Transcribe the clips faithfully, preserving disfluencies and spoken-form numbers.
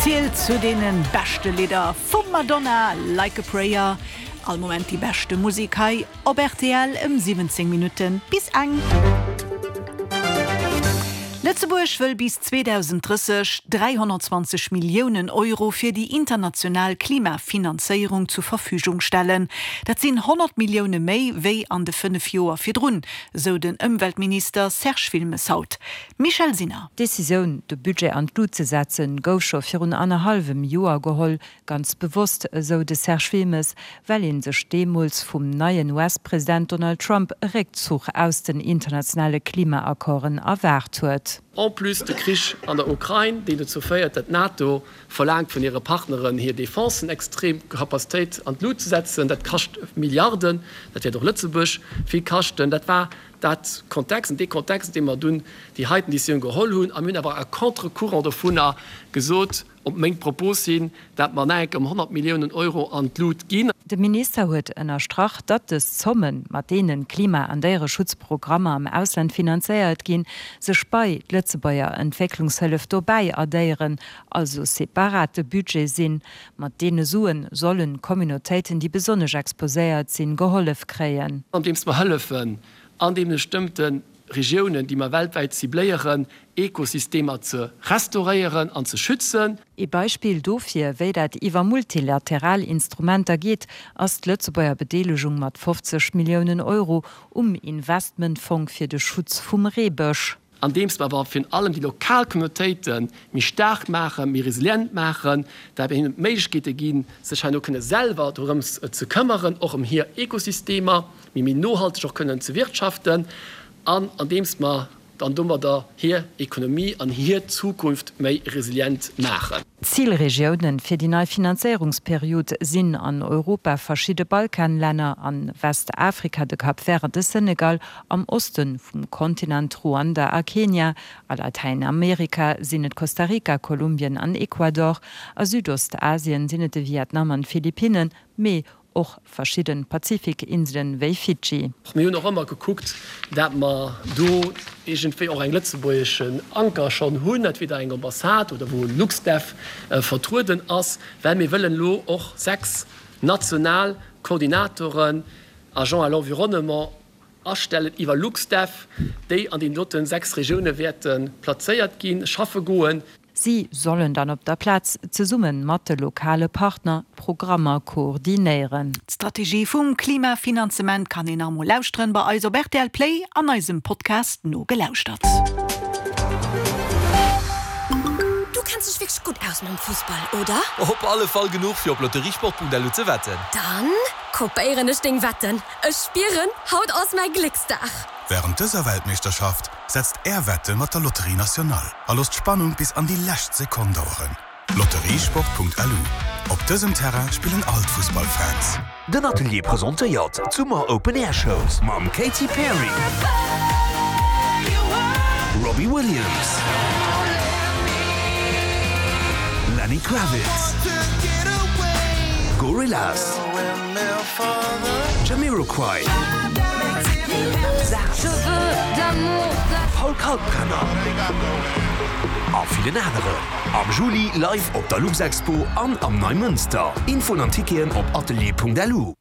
Zielt zu deene beschte Lidder vum Madonna, Like a Prayer. All Moment déi beschte Musek hei op rtl ëm siwwenzéng Minutte bis eng. Lëtzebuerg wëll bis zweedausenddrësseg dräihonnertzwanzeg Milliounen Euro fir déi international Klimafinanzéierung zur Verfügung stellen. Dat sinn honnert Millioune méi wéi an de fënnef Joer virdrun, sou den Ëmweltminister Serge Wilmes haut. Michèle Sinner. D'Decisioun, de Budget an d'Lut ze setzen, gouf scho virun annerhallwem Joer geholl. Ganz bewosst, esou de Serge Wilmes, well ee sech deemools vum neien U S-President Donald Trump e Réckzuch aus den internationale Klimaaccorden erwaart huet. En plus de Krich an der Ukrain, deen dozou féiert, datt d'NATO verlaangt vun hire Partneren, hir Defensen extrem Capacitéit an d'Lut ze setzen. Dat kascht Milliarden. Dat wäert och Lëtzebuerg vill kaschten. Dat war dat Kontext, an dee Kontext, an deem mer dunn déi heiten Décisioun geholl hunn. A mir hunn awer à contre-courant dovunner gesot, op meng Propos hin, dat mer nach eng Kéier ëm honnert Milliounen Euro an d'Lut ginn. De Minister huet ënnerstrach, datt dës Zommen, mat deenen Klima an Déiereschutzprogrammer am Ausland finanzéiert ginn, sech bei d'Lëtzebuerger Entwécklungshëllef dobäi addéieren, also separate Budget sinn. Mat deene Suen sollen Communautéiten, déi besonnesch exposéiert sinn, gehollef kréien. Andeems mer hëllefen an deene bestëmmte Regiounen, déi mer weltwäit cibléieren, Ekosystemer ze restauréieren an ze schützen. Ee Beispill dofir, wéi dat iwwer multilateral Instrumenter geet, ass d'Lëtzebuerger Bedeelegung mat fofzeg Milliounen Euro um Investmentfong fir de Schutz vum Reebësch. Andeems mer awer virun allem déi lokal Communautéite méi staark maachen, méi resilient maachen, dat mir hinnen d'Méiglechkeete ginn, sech herno kënne selwer dorëms ze këmmeren, och ëm hir Ekosystemer, méi méi nohalteg och kënnen ze wirtschaften, an andeems mer dann domadder hir Ekonomie an hir Zukunft méi resilient maachen. D'Zilregiounen fir déi nei Finanzéierungsperiod sinn an Europa verschidde Balkanlänner, a Westafrika de Cap Vert an de Senegal, am Oste vum Kontinent Ruanda a Kenia, a Latäinamerika sinn et Costa Rica, Kolumbien an Ecuador, a Südostasien sinn et de Vietnam an d'Philippinnen, mee och verschidde Pazifikinselen wéi Fidschi. Mir hunn och ëmmer gekuckt, dat mer do iergendwéi och eng lëtzebuergeschen Anker schonn hunn, entweder eng Ambassade oder wou LuxDev vertrueden ass, well mir wëllen elo och sechs national Koordinatoren, Agents à l'environnement, astellen iwwer LuxDev, déi an deenen dote sechs Regioune wäerte plazéiert ginn, schaffe goen. Si sollen dann op der Plaz zesumme mat de lokale Partner d'Programmer koordinéieren. D'Strategie vum Klimafinanzement kann een nach emol lauschteren bei eis op rtl Play an eisem Podcast Nogelauschtert. Du kenns dech wierklech gutt aus mam Fussball, oder? Op alle Fall genuch fir op lotteriesport Punkt L U ze wetten. Dann kopéieren ech deng Wetten. Ech spieren, haut ass mäi Glécksdag. Wärend dëser Weltmeeschterschaft setzt Är Wette mat der Loterie Nationale a loosst d'Spannung bis an déi lescht Sekonn daueren. Lotteriesport Punkt L U Op dësem Terrain spillen all d'Fussballfans. Den Atelier presentéiert d'Summer Open Air Shows mam Katy Perry, Robbie Williams, Lenny Kravitz, Gorillaz, Jamiroquai, Paul Kalkbrenner a villen aneren. Am Juli live op der Luxexpo an am Neimënster. Infoen an Ticketen op atelier Punkt L U.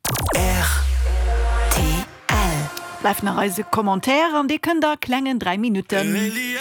Bleift nach eise Commentaire an dee kënnt a klengen dräi Minutten.